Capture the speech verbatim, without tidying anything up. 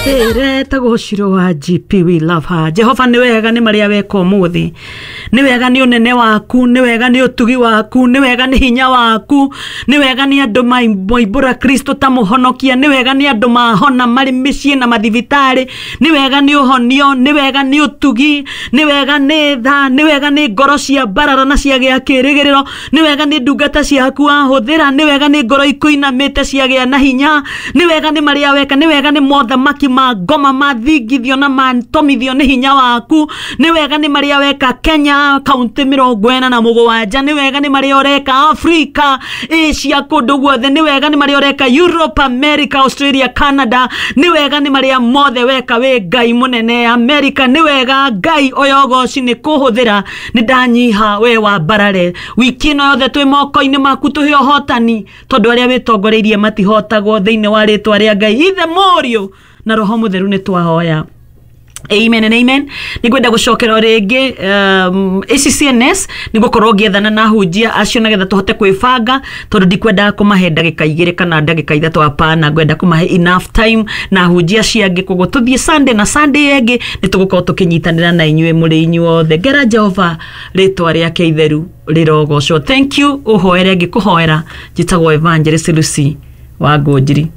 Ĩretagwo Shiro wa G P, we love her. Jehova, nĩ wega nĩ marĩa weka ũmũthĩ, nĩ wega nĩ ũnene waku, nĩ wega nĩ ũtugi waku, nĩ wega nĩ hinya waku, nĩ wega nĩ andũ moimbũra Kristo ta mũhonokia, nĩ wega nĩ andũ mahona marĩ mĩciĩ na mathibitarĩ, nĩ wega nĩ ũhonio, nĩ wega nĩ ũtugi, nĩ wega nĩ tha, nĩ wega nĩ ngoro cia mbarara na ciagĩa kĩrĩgĩrĩro, nĩ wega nĩ ndungata ciaku wahũthĩra, nĩ wega nĩ ngoro ikũinamĩte ciagĩa na hinya, nĩ wega nĩ marĩa weka, nĩ wega nĩ mothamaki ma ngoma mathingithio na matomithio nĩ hinya waku, nĩ wega nĩ marĩa weka Kenya kaunti mĩrongo ĩna na mũgwanja, nĩ wega nĩ marĩa ũreka Afrika, Asia, kũndũ guothe, nĩ wega nĩ marĩa ũreka Europe, America, Australia, Canada, nĩ wega nĩ marĩa mothe weka wĩ Ngai mũnene America, nĩ wega Ngai ũyũ ũgoci nĩ kũhũthĩra. Nĩ ndanyiha, we wa mbarare. Wiki ĩno yothe twĩ moko-inĩ maku, tũhe ũhotani tondũ arĩa wĩtongoreirie matihotagwo. Thĩinĩ wa rĩtwa rĩa Ngai Ithe, Mũriũ na Roho Mũtheru nĩ twahoya, amen and amen. Nĩ ngwenda gũcokera o rĩngĩ um, A C C N S nĩ gũkorwo ngĩethana na ahunjia acio nĩgetha tũhote kwĩbanga, tondũ ndikwendaga kũmahe ndagĩka igĩrĩ kana ndagĩka ithatũ, hapana, ngwenda kũmahe enough time na ahunjia acio angĩ. Koguo tũthiĩ Sunday na Sunday ĩngĩ nĩ tũgũkorwo tũkĩnyitanĩra na inyuĩ mũrĩ inyuothe. Ngera Jehova, rĩtwa rĩake itheru rĩrogocwo. Thank you. Ũhoere ngĩkũhoera. Njĩtagwo Evangelist Lucy wa Ngũnjiri.